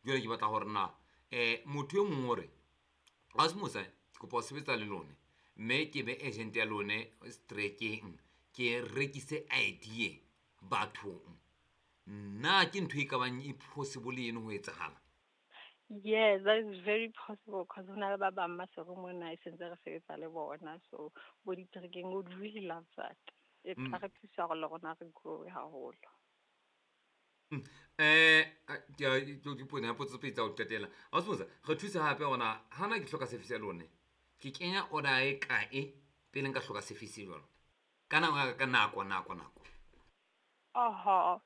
Jwale ke batla hore na motho e mong o re Asmosa ke kopa ho sebetsa le lone mme ke be agent ya lone strekeng ke rekise idea bathong. Na ke ntho e ka bang e possible eno ho etsahala? Yes, that is very possible because ho na le ba bang Maseru mona e sentse re sebetsa le bona, so bo diterekeng would really love that. E tla re thusa hore le rona re grow haholo. Ke potso tse pedi tsa ho qetela. Asmosa re thuse hape hore hana ke hloka service ya lone ke kenya order e kae pele nka hloka service jwalo? Ka nako ka nako nako nako. Oho,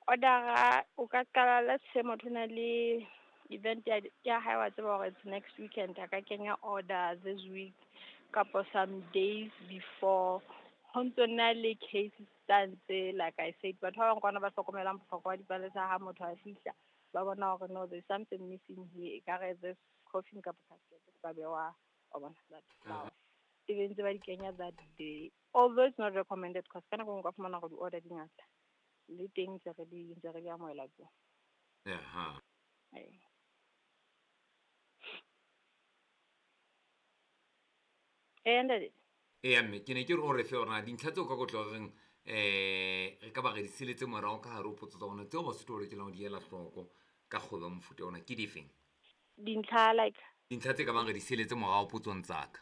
order o ka qala, let's say motho na le event ya hae, wa tseba hore it's next weekend, a ka kenya order this week kapo some days before. Ho ntso na le cases tsa ntse, like I said, batho ba bang kwana ba hlokomelang bohlokwa ba dipalesa. Ha motho a fihla ba bona hore no, there's something missing here, ekare this coffin kapa casket ka bewa, wa bona, that flower e be ntse ba di kenya that day, although it's not recommended because ka nako e nngwe o ka fumana hore di-order di ngata le teng ntse re di amohela tso. Ee. Ee, ntate. Eya, mme ke ne ke re o re fe hore na dintlha tseo ka kotlo reng re ka ba re di seletse morao ka hare ho potso tsa rona tseo Basotho ba lokelang ho di ela hloko ka kgwebo ya mofuta ona ke difeng? Dintlha like? Dintlha tse ka bang re di seletse morao potsong tsa ka.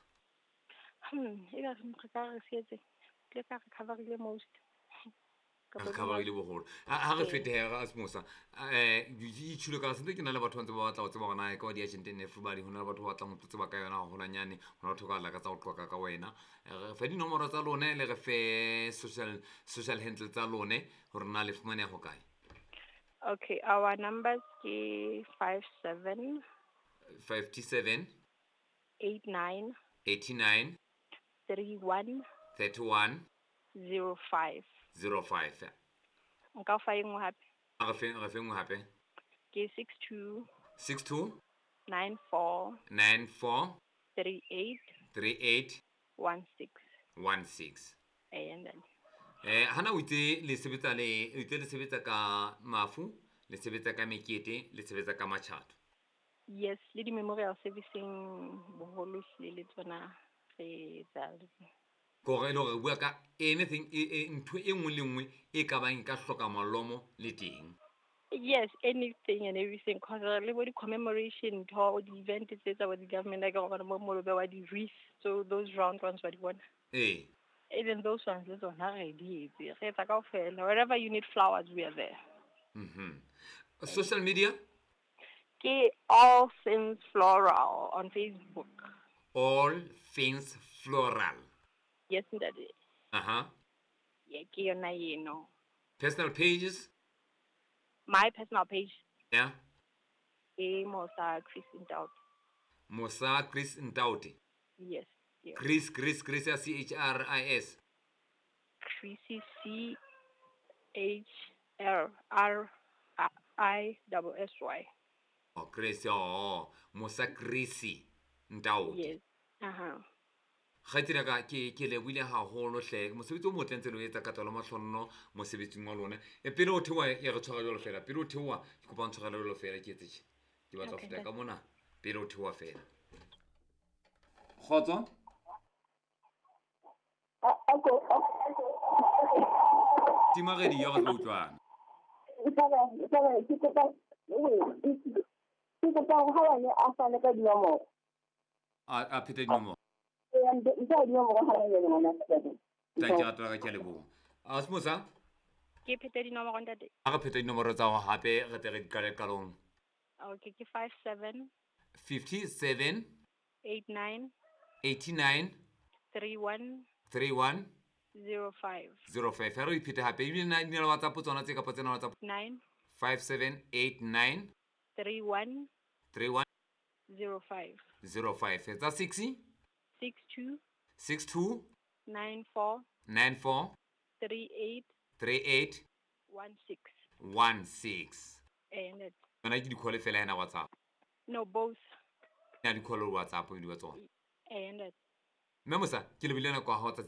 E ka re ka re sietse tle ka re coverile most. Re coverile boholo. Ha re fete Asmosa, itjhilo ka sentse ke na le batho ba ntse ba batla ho tseba hore na e ka ba di-agent and everybody, ho na le batho ba batlang ho tlo tseba ka yona haholwanyane, ho na le batho ba ka lakatsa ho qoqa ka wena. Re fe dinomoro tsa lone le re fe social handle tsa lone hore na le fumaneha ho kae. Okay, our numbers ke 57 57 89 89 31 31 05. 05. Nka o fa e nngwe hape? A re fe nngwe hape. Ke 62 62 94 94 38 38 16. 16. Ee, ntate. Hana o itse le sebetsa le o itse le sebetsa ka mafu, le sebetsa ka mekete, le sebetsa ka matjhato. Yes, le di-memorial servicing boholo hlile le tsona re etsa. Ke hore e le hore re bua ka anything ntho e nngwe le nngwe e ka bang e ka hloka malomo le teng. Yes, anything and everything, cause le bo di-commemoration ntho, di-event tse tsa bo di-government, a ke gore mo mo bewa di-wreath, so those round ones wa di bona. Even those ones le tsona re di etse, re etsa kaofela. Wherever you need flowers, we are there. Social media? Ke All Things Floral on Facebook. All Things Floral. Yes, ntate. Yeah, ke yona eno. Personal pages? My personal page? Yeah. Ke Mosa Chris Ntaute. Mosa Chris Ntaute. Yes. Chris ya C H R I S? Chris, C H L R I double S Y. Oh, Chris, oh, Mosa Chris Ntaute. Yes. Uh-huh. Kgaitsedi ka ke lebohile haholo hle, mosebetsi o motle ntse le o etsa ka tswalo mahlonno mosebetsing wa lona. E pele o theoha e re tshwara jwalo fela, pele o theoha ke kopa o ntshwarele jwalo fela, ke etse tje ke batla ho feta ka mona pele o theoha fela. Kgotso. Tima radio re tlo utlwana. Ke kopa hore ha bane a fane ka dinomoro. A phete dinomoro. Ee, ntle ha dinomoro ha jwale ngwana. Thank you, rato la ka, ke a leboha. Asmosa. Ke phete dinomoro, ntate? A re phete dinomoro tsa hao hape re tle re di qale qalong. Okay, ke 57 57 89 89 31 31 05. 05. Ha re iphete hape ebile na di na le WhatsApp tsona tse kapa tsena WhatsApp? 9 5789 31 31 05. 05. Tsa 6? 62 62 94 94 38 38 16. 16. Ee, ntate. Yona ke di-call fela hena WhatsApp? No, both. Ya di-call le WhatsApp di wa tsona. Ee, ntate. Mme Mosa, ke lebile nako ya hao tsatsi.